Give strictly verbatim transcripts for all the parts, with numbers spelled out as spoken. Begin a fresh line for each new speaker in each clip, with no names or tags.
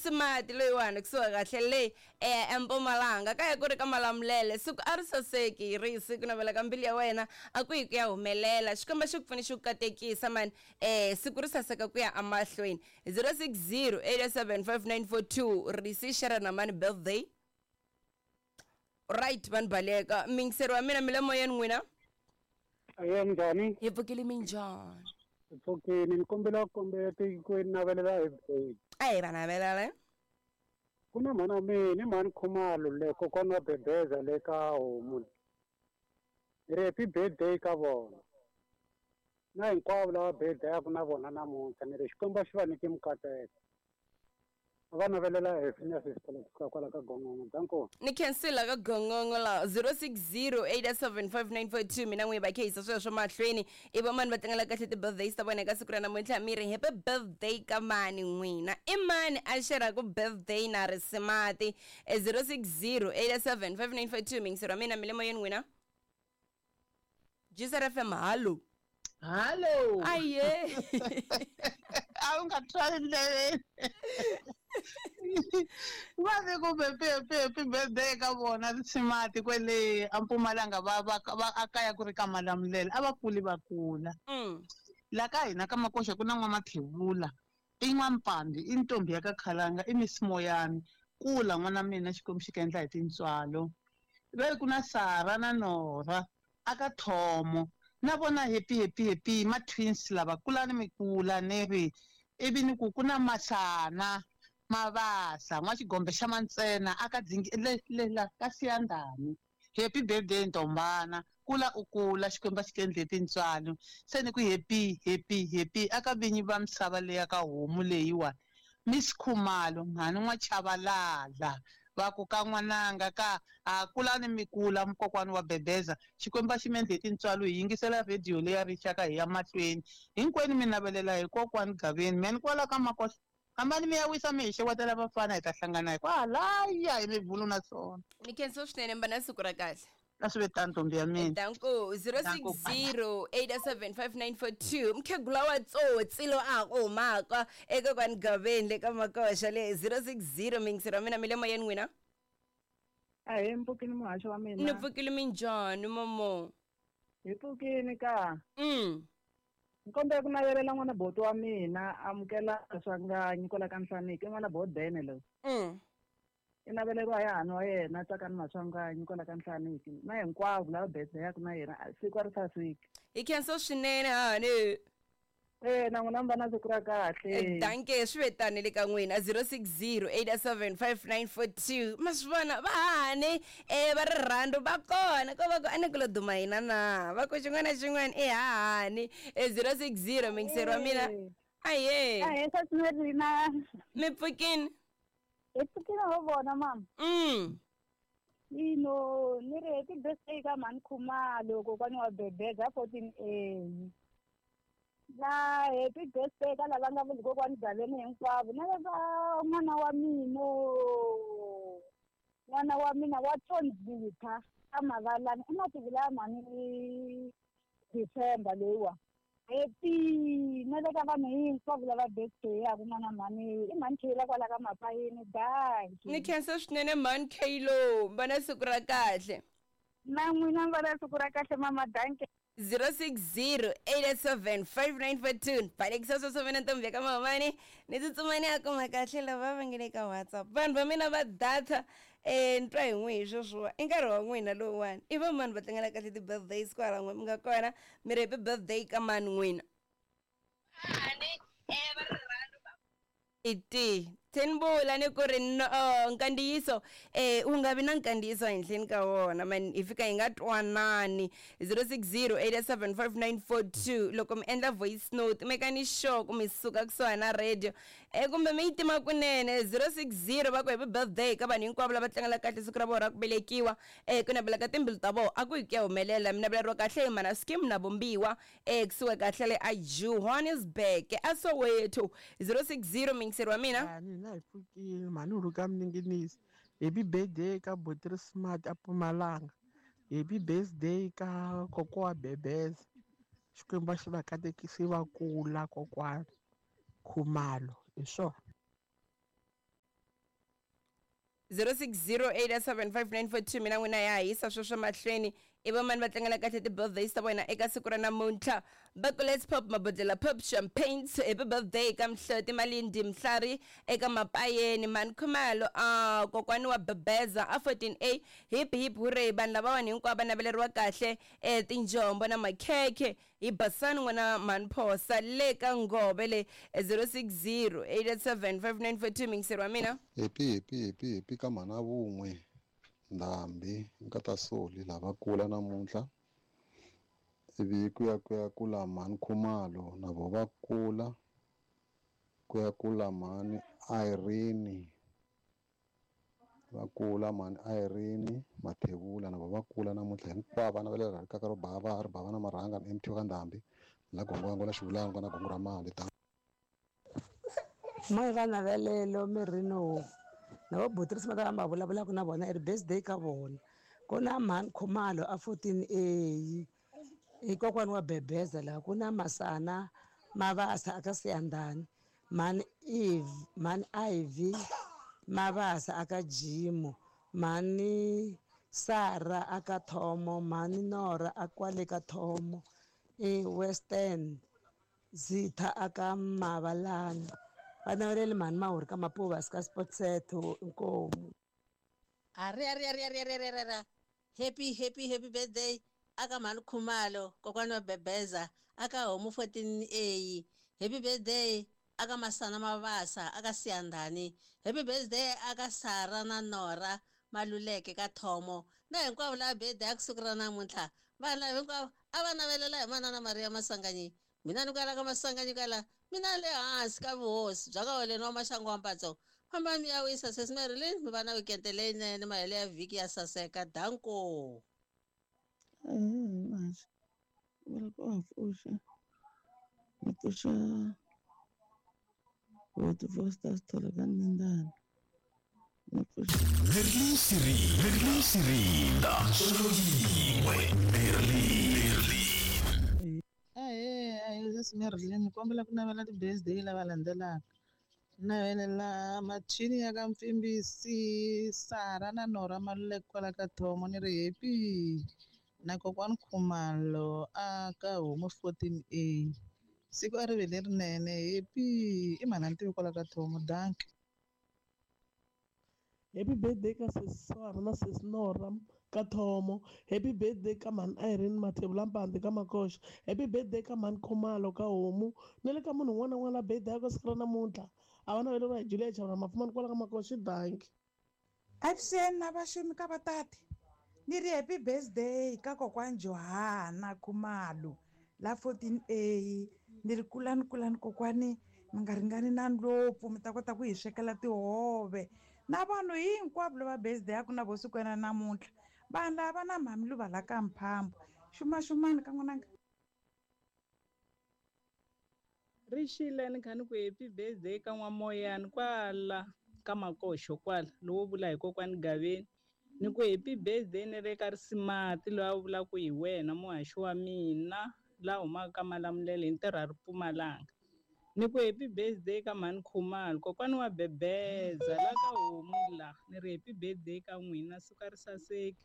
Risimati loyiwani kusuka kahle le eh eMpumalanga kaya ku ri ka Malamulele siku a ri saseki risi ku navela ka mbilu ya wena a ku yi ku ya humelela Xikwembu xi ku pfuni xi ku katekisa mani eh siku ri saseka ku ya emahlweni zero six zero eight seven five nine four two risi share na mani birthday right vanhu baleka mingiseri wa mina mi le moyeni n'wina
aye njhani
hi pfukile minjhani
hi pfukile ni kombela ku kombela ku navelela happy
ayi va navelela
ku na mhana mina i mhani Khumalo le kokwana wa Bebeza le ka homu ni ri happy birthday ka vona na hinkwavo lava birthday-aku na vona namuntlha ni ri Xikwembu xi va nyike mikateko va navelela happiness kusuka kwala ka Gongongo danko
ni khensila ka Gongongo la zero six zero eight seven five nine four two mina n'wi va khehisa sweswo mahlweni i va mani va tlangela kahle ti-birthdays ta vona eka siku ra namuntlha mi ri happy birthday ka mani n'wina i mani a xeraku birthday na Risimati zero six zero eight seven five nine four two mingisero wa mina mi le moyeni n'wina G S R F M hallo
hallo
aye
a wu nga twali ndleveni va ve ku happy birthday ka vona Risimati kwele a Mpumalanga va va va a kaya ku ri ka Malamulele a va kuli va kula la ka hina ka Makoxa ku na n'wamathevula i n'wampambi i ntombi ya ka Khalanga i Miss Moyani kula n'wana mina Xikwembu xi ka endla hi tintswalo ve ku na Sara na Nora aka Thomo na vona happy happy happy ma twins lava kulani mi kula ni ri ivi ni ku ku na Masana Mavasa n'wa xigombe xa Mantsena aka dzingi le le la ka Siyandhani happy birthday ntombana kula u kula Xikwembu xi endle tintswalo se ni ku happy happy happy aka vinyi va misava leya ka homu leyiwa Miss Khumalo mhani n'wa Chavalala va ku ka n'wananga ka a kulani mi kula mukokwani wa Bebeza Xikwembu xi mi endle tintswalo hi yingisela radio leya rixaka hi ya mahlweni hinkwenu mi navelela hi kokwani Gaveni meni kwala ka Makoxa hambani mi ya wisa mi hi xewetela vafana hi ta hlangana hi kwalaya hi mivulu na swona
ni khensa swinene mba na siku ra kahle
a swi ve tano ntombi ya mina
danko zero six zero eight seven five nine four two mkhegula wa tsotsi lo a ku humaka eka kwani Gaveni le ka Makoxa le zero six zero mingisero wa mina mi le moyeni n'wina
ahe mpfukini muhaxo wa mina
ni pfukile minjhani momo
hi pfukini ka
mm
nkombela ku navelela n'wana boti wa mina amukela Swanganyi kwala ka Nhlaniki i n'wana bodene lowu
mm
i naveleriwa hi hahani wa yena Tsakani Maswanganyi kwala ka Nhlaniki na hinkwavo lava birthday-aku na yena siku a ri saseki
hi khensa swinene hahani
eh na n'wina mi va na siku ra kahle
danke swi ve tani le ka n'wina zero six zero eight seven five nine four two ma swi vona va hahani eh va rirhandzu va kona ko va ku a ni ku lo duma hina na va ku xin'wana na xin'wana i hahani zero six zero mingiseri wa mina aye
ahe sasmerina
mi pfukini
hi pfukile ho vona mama
mm
ino ni ri happy birthday ka mhani Khumalo kokwani wa Bebeza fourteen A na happy birthday ka lava nga vuli kokwani Gaveni hinkwavo na lava n'wana wa mina n'wana wa mina wa Tsondzitha ka Mavalani i mativula ya mhani December loyiwa happy na le ka vanhu hinkwavo lava birthday yaku n'wana mhani i mhani Kheyila kwala ka Mapayini danki
ni khensa swinene mhani Kheyilo va na siku ra kahle
na n'wina va na siku ra kahle mama danki
zero six zero eight seven five nine four two balekisa sweswo vena ntombi ya ka Mamani ni tsutsumani a kuma kahle lava va nge le ka WhatsApp vanhu va mina va data eh ni twa hi n'wi hi sweswiwa i nkarhi wa n'wina lowuwani i va mani va tlangela kahle ti-birthdays kwala n'we mi nga kona mi ri happy birthday ka mani n'wina iti thenibula ni ku ri no nkandziyiso eh u nga vi na nkandziyiso ehenhleni ka wona man hi fika hi nga twanani zero six zero eight seven five nine four two loko mi endla voice note mekani sure ku mi suka kusuhani na radio eh kumbe mi yi tima kunene zero six zero va ku happy birthday ka vanhu hinkwavo lava tlangela kahle siku ra vona ra ku velekiwa eh ku navela ka timbilu ta vona a ku hi ku ya humelela mi naveleriwa kahle hi mana scheme na vumbiwa eh kusuka kahle le a Johannesburg a Soweto zero six zero mingiseri wa mina
na hi pfukile mhani u rhuka Mninginisi happy birthday ka Botri Smart a Mpumalanga happy birthday ka kokwa wa Bebeza Xikwembu xi va katekisi va kula kokwana Khumalo hi swona.
zero six zero eight seven five nine four two mina n'wina ya hisa sweswo mahlweni i vamani va tlangela kahle ti-birthdays ta vona eka siku ra namuntlha. Va ku let's pop mabodlela pop champagnes, happy birthday ka Mhloti Malindi Mhlari eka Mapayeni Mani Khumalo, a kokwani wa Bebeza a fourteen A, hip hip hooray. Vanhu lavawani hinkwavo va naveleriwa kahle eh tinjombo na makhekhe hi Basani n'wana Mani Phosa le ka Ngove le zero six zero eight seven five nine four two. Mingiseri wa mina
happy happy happy happy ka mhana vun'we Ndhambi Nkatasoli lava kula namuntlha, ivi ku ya ku ya kula Mhani Khumalo na vo va kula, ku ya kula Mhani Irene va kula, Mhani Irene Mathebula na vo va kula namuntlha. Hinkwavo vana va le rikaka ro bava ri bava na marhanga na M T ka Ndhambi la gongongo la xivulana na gongo ra mali ta
moya va navelelo mirini wo na vo Botrisi va ta va vulavulaka na vona i ri birthday ka vona. Ku na Mhani Khumalo a fourteen A i kokwani wa Bebeza laha, ku na Masana Mavasa aka Siyandhani, Mhani Eve Mhani Ivy Mavasa aka Jimo, Mhani Sara aka Thomo, Mhani Nora a kwale ka Thomo e Western Zitha aka Mavalani. Va naveleli Mhani Mahuri ka Mapuvasi ka Sportset inkomu.
Ari ari ari ari ari ari ari happy happy happy birthday aka Mhani Khumalo kokwani wa Bebeza aka Homu fourteen A, happy birthday aka Masana Mavasa aka Siyandhani, happy birthday aka Sara na Nora Maluleke ka Thomo na hinkwavo lava birthday ya ku siku ra namuntlha. Vanhu lava hinkwavo a va navelela hi manana Maria Masanganyi, mina ni kwala ka Masanganyi kwala mina le hansi ka vuhosi bya ka Holeni wa Maxangu wa Mpatso. Famba mi ya wisa sesi Marilyn, mi va na weekend leyinene, mahelo ya vhiki ya saseka. Danko.
Ahee, vula ku wa pfuxa ni pfuxa Hotu Foster Sithole ka Nindana ni pfuxa
Merlin Siri, Merlin Sirinda, solo yin'we, Merlin, Merlin.
Ahee, ahee sesi Marilyn, ni kombela ku navela ti-birthday lava landzelaka. Navelela Machini ya ka Mpfimbisi, Sara na Nora Maluleke kwala ka Thomo ni ri happy na kokwani Khumalo a ka Homu fourteen A. Siku a ri ve lerinene, happy i mhana Ntivi kwala ka Thomo. Danki.
Happy birthday ka sesi Sara na sesi Nora ka Thomo. Happy birthday ka Mhani Irene Mathebula Mpande ka Makoxa. Happy birthday ka Mhani Khumalo ka Homu. Na le ka munhu un'wana na un'wana la birthday ya ka siku ra namuntlha. A va naveleriwa hi Julia Chavula Mafumani kwala ka Makoxa. Danki.
Avuxeni na vaxumi ka vatati. Ni ri happy birthday ka kokwani Johana Khumalo la fourteen A. Ni ri kulani kulani kokwani, mi nga ringani na ndlopfu, mi ta kota ku hi swekela tihove. Na vanhu hinkwavo lava birthday ya ku na vo sikwena namuntlha. Vanhu lava na mhami luva la ka Mphambo. Xumaxumani ka n'wananga.
Rixile ni kha ni ku happy birthday ka N'wamoyani kwala ka Makoxo kwala lowo vula hi kokwani Gaveni. Ni ku happy birthday ni ri ka Risimati loyi a vulaka hi wena muhaxi wa mina la humaka ka Malamulele hi ntirho a ri Mpumalanga. Ni ku happy birthday ka Mhani Khumalo kokwani wa Bebeza la ka Homu la. Ni ri happy birthday ka n'wina siku a ri saseki.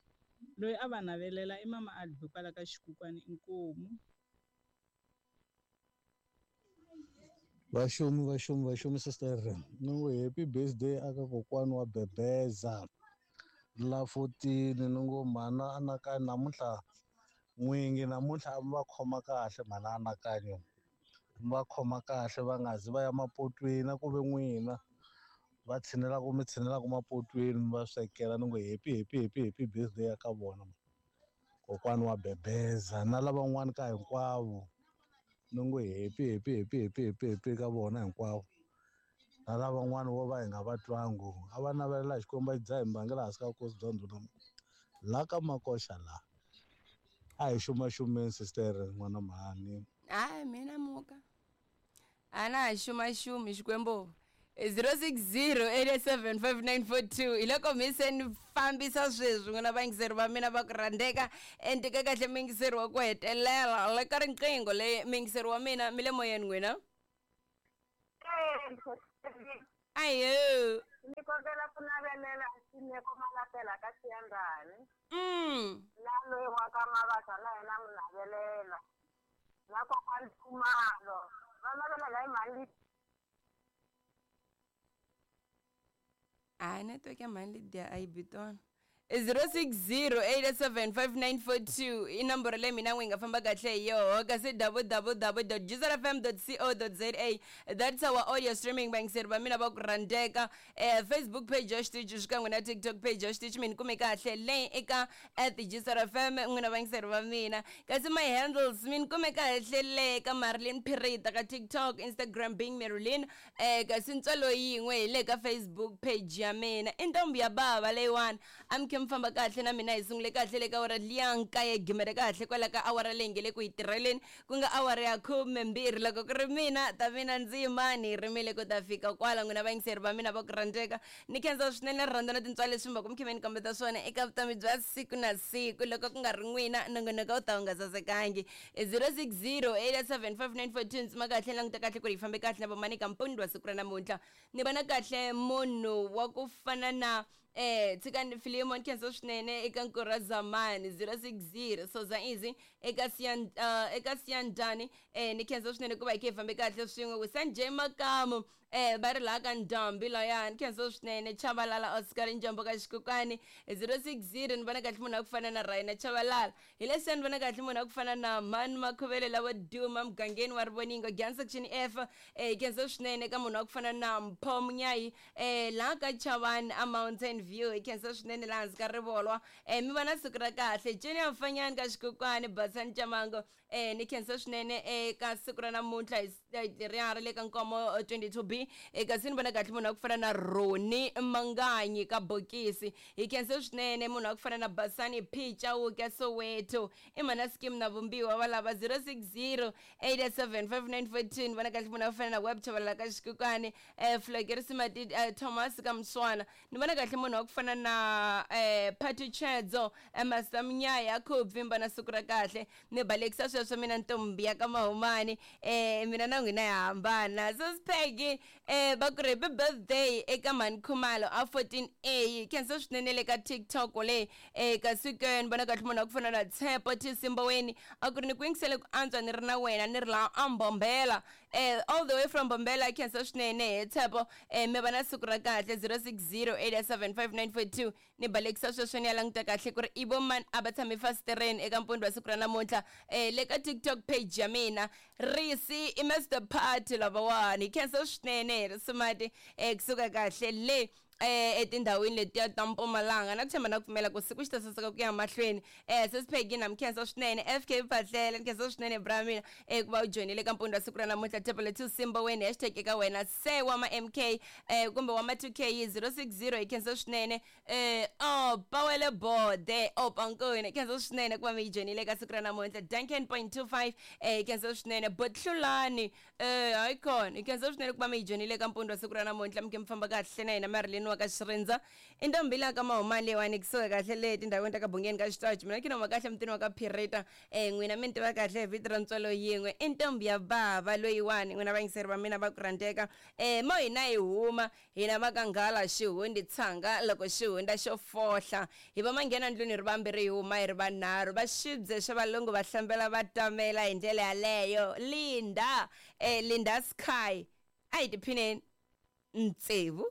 Loyi a va navelela i mama Albi kwala ka Xikukwani inkomu.
Vaxumi vaxumi vaxumi sister, ni ngo happy birthday aka kokwani wa Bebeza la fourteen. Ni ngo mhana Anakanyo namuntlha n'wingi namuntlha a mi va khoma kahle mhana Anakanyo, mi va khoma kahle va nga zi va ya mapotweni a ku ve n'wina va tshinelaka mi tshinelaka mapotweni mi va swekela. Ni ngo happy happy happy happy birthday ya ka vona kokwani wa Bebeza na lavan'wana ka hinkwavo. Ni ngo happy happy happy happy happy happy ka vona hinkwavo na lavan'wana vo va hi nga va twangu a va navelela Xikwembu a xi dzaha hi mbangela hansi ka vukosi bya ndhuna la ka Makoxa la. A hi xumaxumeni sister n'wana mhani.
Hayi mina muka a na ha xumaxumi Xikwembu. zero six zero eight seven five nine four two hi loko mi se ni fambisa sweswi n'wina vayingiseri va mina va ku rhandzeka. Ende ka kahle muyingiseri wa ku hetelela le ka riqingho leyi muyingiseri wa mina mi le moyeni n'wina. Ayo
ni kombela
ku navelela Nsimeko Malatela ka Xiyandani.
Mm.
Na loyi wa ka Mabasa na yena mu navelela. Na kokwani Khumalo. Va navelela hi mhani.
A network ya mhani Lydia a yi bi tona. zero six zero eight seven five nine four two i nomboro leyi mina n'wi nga famba kahle hi yoho kasi w w w dot jizerfm dot co dot za that's our audio streaming vayingiseri va mina va ku rhandzeka eh, Facebook page ya xitichi xikan'we na TikTok page ya xitichi mi ni kume kahle leyi eka at jizerfm n'wina vayingiseri va mina kasi my handles mi ni kume kahle le ka Marilyn Pirita ka TikTok, Instagram being Marilyn eh, kasi ntswalo yin'we hi le ka Facebook page ya mina i ntombi ya bava leyiwani a mi khe mi famba kahle na mina hi sungule kahle le ka awara liya nkaye gimere kahle kwala ka awara leyi nge le ku yi tirheleni ku nga awara ya khume mbirhi loko ku ri mina ta mina ndzi yimani rimile ku ta fika kwala n'wina vayingiseri va mina va ku rhandzeka ni khensa swinene rirhandzu na tintswalo leswi mi va ku mi khe mi ni kombeta swona eka vutomi bya siku na siku loko ku nga ri n'wina nongonoko wu ta wu nga sasekangi zero six zero eight seven five nine four two ntsima kahle languta kahle ku ri yi fambe kahle na vamani ka mpundi wa siku ra namuntlha ni vona kahle munhu wa ku fana na eh tshikani Philemon khensa swinene eka Nkura Zamani zero six zero Soza Easy eka Siyan uh, eka Siyandani eh ni khensa swinene ku va hi khe hi fambe kahle swin'we ku Sanjay Makamu eh va ri laha ka Ndhambi layani khensa swinene Chabalala Oscar Njombo ka Xikukani zero six zero ni vona kahle munhu wa ku fana na Raina Chabalala hi leswi ni vona kahle munhu wa ku fana na Mani Makhuvele lavo duma mugangeni wa Rivoningo Gyan section F eh khensa swinene ka munhu wa ku fana na Mpho Munyayi eh laha ka Chavani a Mountain View hi khensa swinene laha hansi ka rivolwa eh mi va na siku ra kahle Junior Mfanyani ka Xikukani Basani Chamango eh ni khensa swinene eka siku ra namuntlha hi leriya ra le ka Nkomo twenty two B kasi ni vona kahle munhu wa ku fana na Roni Manganyi ka Bokisi hi khensa swinene munhu wa ku fana na Basani P Chauke Soweto i mhana scheme na vumbiwa va lava zero six zero eight seven five nine four two ni vona kahle munhu wa ku fana na Web Chabalala ka Xikukani eh Flokerisi Thomas ka Mswana ni vona kahle munhu wa ku fana na eh Patu Chedzo Master Mnyaya Khubvimba na siku ra kahle ni balekisa sweswo mina ntombi ya ka Mahumani eh mina na n'wina ya hambana Sosipegi eh va ku ri happy birthday eka Mhani Khumalo a fourteen A khensa swinene le ka TikTok le eh kasi ke ni vona kahle munhu wa ku fana na Tshepo Tisimboweni a ku ri ni ku yingisele ku antswa ni ri na wena ni ri laha a Mbombela eh all the way from Mbombela khensa swinene he Tshepo eh mi va na siku ra kahle zero six zero eight seven five nine four two ni balekisa sweswo ni ya languta kahle ku ri i vo mani a va tshame fasitereni eka mpundzu wa siku ra namuntlha eh le ka TikTok page ya mina Risi i Mister Party lavawani khensa swinene Risimati eh kusuka kahle le eh etindhawini letiya ta Mpumalanga na ku tshemba na ku pfumela ku siku xi ta saseka ku ya mahlweni eh Sesiphegi na mi khensa swinene F K Phahlele ni khensa swinene bra mina eh ku va u joyinile ka mpundzu wa siku ra namuntlha Tepele two Simba wena hashtag eka wena se wa ma M K eh kumbe wa ma two K zero six zero hi khensa swinene eh oh Pawele Bode oh Pankoni khensa swinene ku va mi yi joyinile ka siku ra namuntlha Duncan point two five eh khensa swinene Botlulani eh hayi khona hi khensa swinene ku va mi yi joyinile ka mpundzu wa siku ra namuntlha mi khe mi famba kahle na hina Marilyn wa ka Xirindza i ntombi laha ka Mahumani leyiwani kusuka kahle le tindhawini ta ka Bungeni ka Xitachi mina khinoma kahle mutini wa ka Phirita eh n'wina mi ni tiva kahle hi vito ra ntswalo yin'we i ntombi ya bava loyiwani n'wina vayingiseri va mina va ku rhandzeka eh mo hina hi huma hina va ka nghala xihundi tshanga loko xihunda xo fohla hi va manghena ndlwini ri vambirhi hi huma hi ri vanharhu va xibye xa valungu va hlambela va tamela hi ndlela yaleyo Linda eh Linda Sky a hi tiphineni ntsevu.